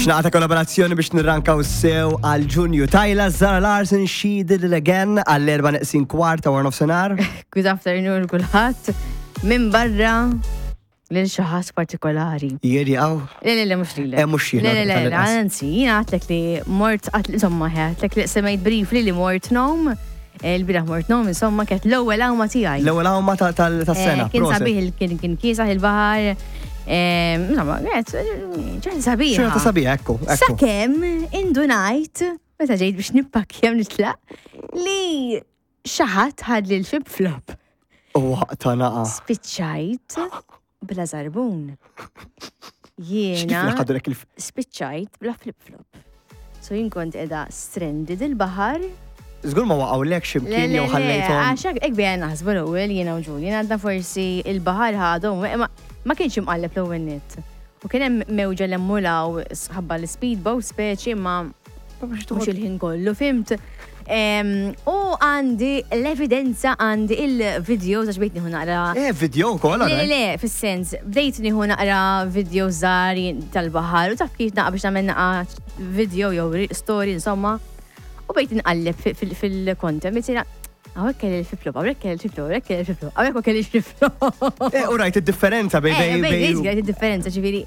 Xnaqta kollaborazzjoni biex nirrankaw sew għal Ġunju. Tajla Zara Larsen, She Did It Again għall-erba neqsin kwarta wara nofsinhar. Good afternoon kulħadd. Minn barra lil xi ħadd partikolari. Jieri għaw? Le, le, le, mhux lilek. Eh, mhux jiena. Le, le, le, anzi, jiena għatlek li mort, insomma, għatlek li semmejt briefly li mort nom, eh, il-biraħ mort nom, insomma, kienet l-ewwel għawma tiegħi. L-ewwel għawma tas-sena. Eh, kien sabiħ, kien kien kiesaħ il-baħar. Eh, insomma, kienet ċerta sabiħ. Ċerta sabiħ, ekku. Sakemm indunajt, meta ġejt biex nippakkja nitlaq, li Xi ħadd ħadli l-flip flop. U waqta naqa. Spiċċajt bla żarbun. Jiena spiċċajt bla flip flop. So jien kont qiegħda stranded il-baħar. Żgur ma waqgħulek x'imkien jew ħallejthom. Għax hekk bejna naħsbu l-ewwel jiena u Julian għadna forsi il-baħar ħadhom ma kienx imqalleb l-ewwel nett. U kien hemm mewġa 'l hemm u 'l hawn ħabba l-ispeedboat speċi imma mhux il-ħin kollu, fimt? U għandi l-evidenza għandi il-videos għax bdejt nieħu naqra. Eh, video wkoll Le, le, fis-sens, bdejt nieħu naqra video żgħar tal-baħar u taf kif naqra biex nagħmel naqra video jew story insomma. U bdejt inqalleb fil-content, Hawnhekk kelli l-flip-flop, hawnhekk kelli l-flip-flop, hawnhekk kelli l-flip-flop, hawnhekk ma kellix flip-flop. Eh, u rajt id-differenza bej eh, bej bej. Rajt id-differenza, ġifieri.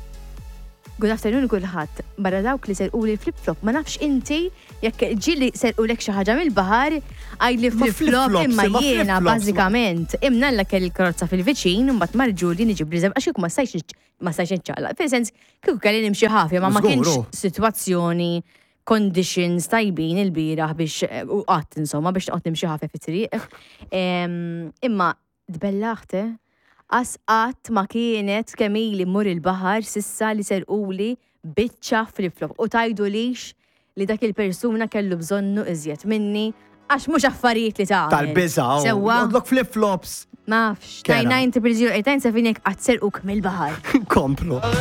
Good afternoon kulħadd. Barra dawk li serquli l-flip-flop, ma nafx inti jekk ġieli serqulek xi ħaġa mill-baħar, għidli flip-flop imma jiena bażikament imnalla kelli l-karozza fil-viċin, mbagħad mar Julian iġibli żebgħa għax kieku ma stajtx ma stajtx niċċaqlaq. Fil-sens kieku kelli nimxi ħafja ma ma kienx sitwazzjoni conditions tajbin il-bieraħ biex u qatt insomma biex noqgħod nimxi ħafja fit-triq. Imma tbellaħt, eh? Qas qatt ma kienet kemm ili mmur il-baħar s'issa li serquli biċċa flip-flop u tgħidulix li dak il-persuna kellu bżonnu iżjed minni għax mhux affarijiet li tagħmel. Tal-biża', oh. Sewwa? Joħodlok flip-flops. Ma nafx. 99 000 8 7 jekk qatt serquk mill-baħar. Komplu.